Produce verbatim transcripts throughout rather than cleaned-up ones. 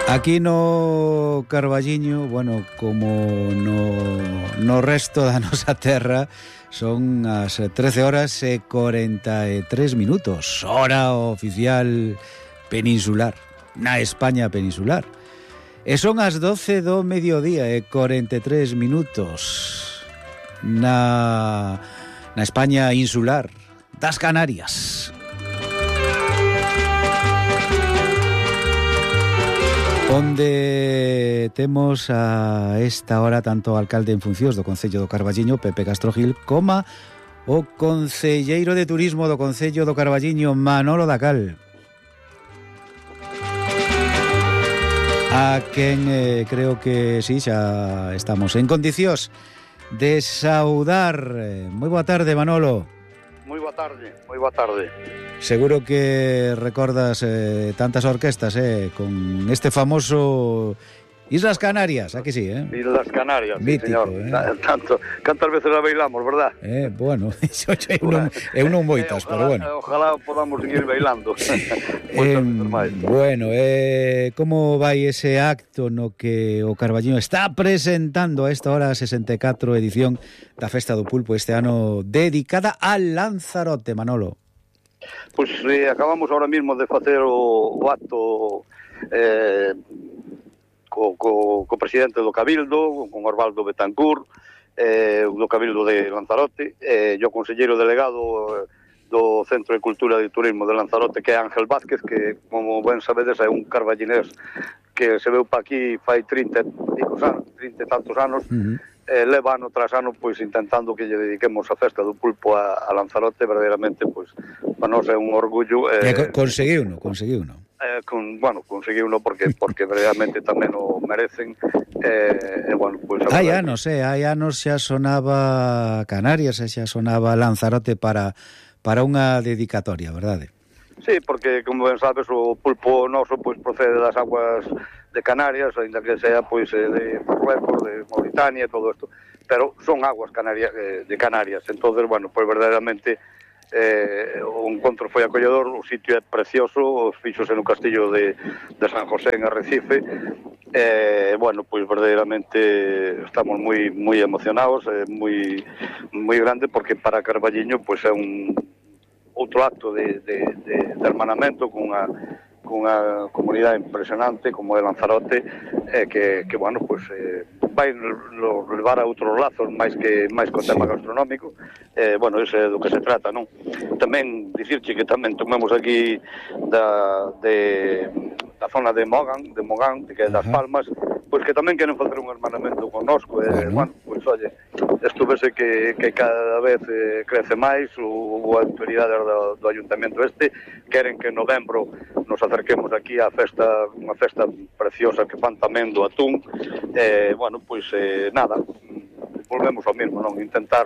Aquí no Carballiño, bueno, como no, no resto da nosa terra, son as trece horas e cuarenta e tres minutos, hora oficial peninsular, na España peninsular. E son as doce do mediodía e cuarenta e tres minutos na, na España insular das Canarias. Onde temos a esta hora tanto o alcalde en funcións do Concello do Carballiño, Pepe Castro Gil, como o concelleiro de turismo do Concello do Carballiño, Manolo Dacal, a quen eh, creo que sí, xa estamos en condicións de saudar. Moi boa tarde, Manolo. Moi boa tarde, moi boa tarde. Seguro que recordas eh, tantas orquestas, eh, con este famoso Islas Canarias, aquí sí, eh? Islas Canarias, mítico, sí, señor. Eh? Tanto, cantas veces la bailamos, verdad? Eh, bueno, eu non, eu non moitas, eh, ojalá, pero bueno. Ojalá podamos seguir bailando. eh, bueno, eh, como vai ese acto no que o Carballiño está presentando a esta hora a sesenta e catro edición da Festa do Pulpo, este ano dedicada a Lanzarote, Manolo? Pois eh, acabamos ahora mismo de facer o, o acto eh, co, co, co presidente do Cabildo, con Osvaldo Betancourt, eh, do Cabildo de Lanzarote, e eh, o conselleiro delegado do Centro de Cultura e Turismo de Lanzarote, que é Ángel Vázquez, que, como ben sabedes, é un carballinés que se veu pa aquí fai trinta e tantos anos. Uh-huh. Eh, leva ano tras ano pois intentando que lle dediquemos a festa do pulpo a, a Lanzarote. Verdadeiramente pois para nós é un orgullo. Eh, e conseguiuno, conseguiuno. Eh, con, bueno, conseguiuno porque porque verdadeiramente tamén o merecen. Eh, eh, bueno, pois hai anos, eh, hai anos xa sonaba Canarias, xa sonaba Lanzarote para para unha dedicatoria, verdade? Sí, porque como ben sabes o pulpo noso pois procede das aguas de Canarias, ainda que sea pois de Marruecos, de Mauritania e todo isto, pero son aguas canarias, de Canarias. Entonces, bueno, pois verdadeiramente eh, o encontro foi acolledor, o sitio é precioso, fíxose no castillo de, de San José en Arrecife. Eh, bueno, pois verdadeiramente estamos moi moi emocionados, é eh, moi moi grande, porque para Carballiño pois é un outro acto de, de, de, de hermanamento con unha cunha comunidade impresionante como é Lanzarote, eh, que, que, bueno, pues, eh, vai lo levar a outros lazos máis que máis co tema gastronómico. Eh, bueno, ese é do que se trata, non? Tamén dicirche que tamén tomemos aquí da, de, da zona de Mogán, de Mogán, que é das Palmas, pois que tamén queren facer un hermanamento connosco. Eh, bueno, pois, oye, isto vese que, que cada vez eh, crece máis, o, o autoridade do, do ayuntamento este, queren que en novembro nos acerquemos aquí á festa, unha festa preciosa que fan tamén do atún. Eh, bueno, pois eh, nada, volvemos ao mesmo, non? Intentar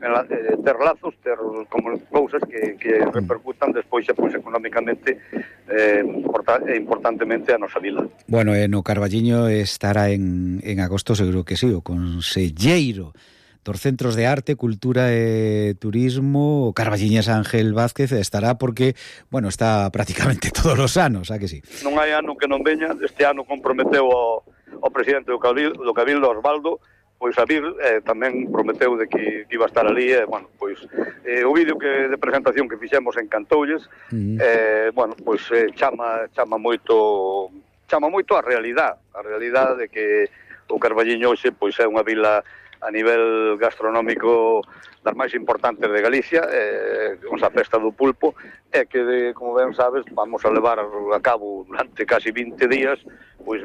eh, ter lazos, ter como cousas que, que repercutan despois xa pois económicamente eh, importa, e importantemente a nosa vila. Bueno, e no Carballiño estará en, en agosto, seguro que sí, o conselleiro dos Centros de Arte, Cultura e Turismo, o carballiñés Ángel Vázquez, estará porque, bueno, está prácticamente todos os anos, a que sí? Non hai ano que non veña. Este ano comprometeu o, o presidente do Cabildo, do Cabildo, Osvaldo, pois a vir, eh, tamén prometeu de que, que iba a estar ali, e, eh, bueno, pois eh, o vídeo que de presentación que fixemos encantoulles. Uh-huh. eh, bueno, pois eh, chama, chama moito chama moito a realidade, a realidade de que o Carballiño hoxe pois é unha vila a nivel gastronómico das máis importantes de Galicia, eh, con a festa do pulpo, e que, de, como ben sabes, vamos a levar a cabo durante casi vinte días, pois,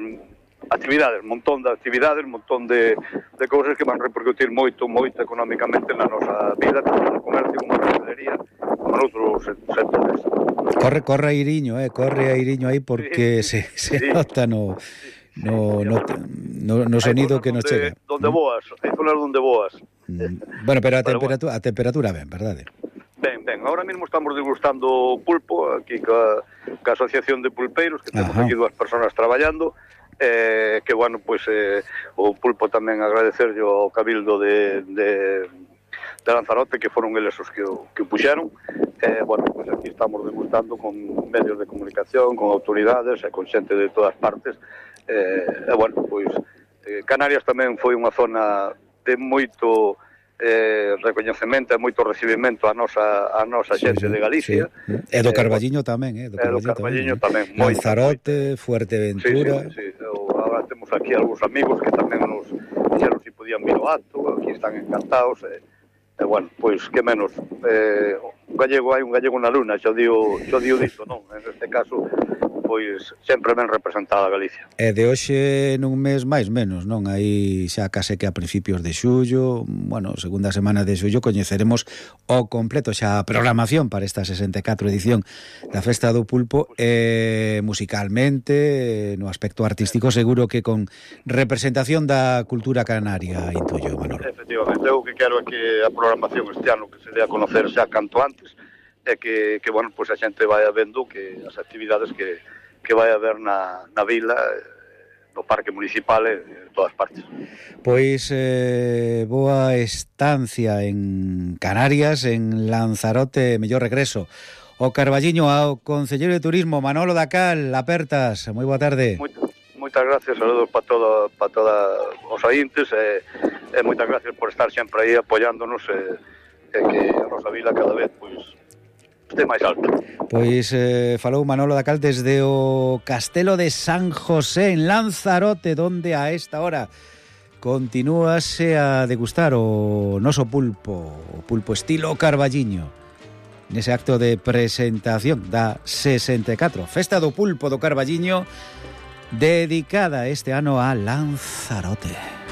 actividades, montón de actividades, montón de, de cousas que van repercutir moito, moito económicamente na nosa vida, tanto no comercio como na hostelería, como noutros sectores. Corre, corre a Iriño, eh, corre a Iriño aí porque sí, se, se sí. nota no... No, no, no, no sonido que nos donde, chega. Donde boas, hai zonas donde boas. Mm. Bueno, pero a temperatura, bueno. a temperatura ben, verdade? Ben, ben, ahora mismo estamos degustando pulpo aquí ca, ca Asociación de Pulpeiros, que temos Ajá. aquí dúas personas traballando, eh, que, bueno, pois pues, eh, o pulpo tamén agradecerlle ao Cabildo de, de, de Lanzarote, que foron eles os que o, que o puxeron, Eh, bueno, pues aquí estamos degustando con medios de comunicación, con autoridades e con xente de todas partes. Eh, e, bueno, pois, eh, Canarias tamén foi unha zona de moito eh, recoñecemento e moito recibimento a nosa, a nosa xente sí, sí, de Galicia. Sí. E do Carballiño eh, tamén, eh? Do Carballiño, do Carballiño tamén. tamén Lanzarote, Fuerteventura... Sí, sí, sí. Agora temos aquí algúns amigos que tamén nos dixeron si podían vir ao acto, aquí están encantados, e, e bueno, pois, que menos... Eh, un gallego hai un gallego na luna, xo digo, xo digo dito, non? En este caso, pois, sempre ben representada a Galicia. E de hoxe nun mes máis menos, non? Aí xa case que a principios de xullo, bueno, segunda semana de xullo, coñeceremos o completo xa a programación para esta sesenta e catro edición da Festa do Pulpo, e musicalmente, no aspecto artístico, seguro que con representación da cultura canaria, intuyo, Manolo. Efectivamente, eu que quero é que a programación este ano que se dé a conocer xa canto antes, é que, que bueno, pois a xente vai vendo que as actividades que, que vai haber na, na vila, no parque municipal e en todas partes. Pois eh, boa estancia en Canarias, en Lanzarote, mellor regreso o Carballiño, ao concelleiro de Turismo Manolo Dacal. Apertas, moi boa tarde. Moita, moitas gracias, saludos para todo, para todos os ointes, e, e moitas gracias por estar sempre aí apoiándonos, e, e que a nosa vila cada vez pois este máis alto. Pois eh, falou Manolo Dacal desde o Castelo de San José en Lanzarote, donde a esta hora continúase a degustar o noso pulpo, o pulpo estilo Carballiño, nese acto de presentación da sesenta e catro Festa do Pulpo do Carballiño, dedicada este ano a Lanzarote.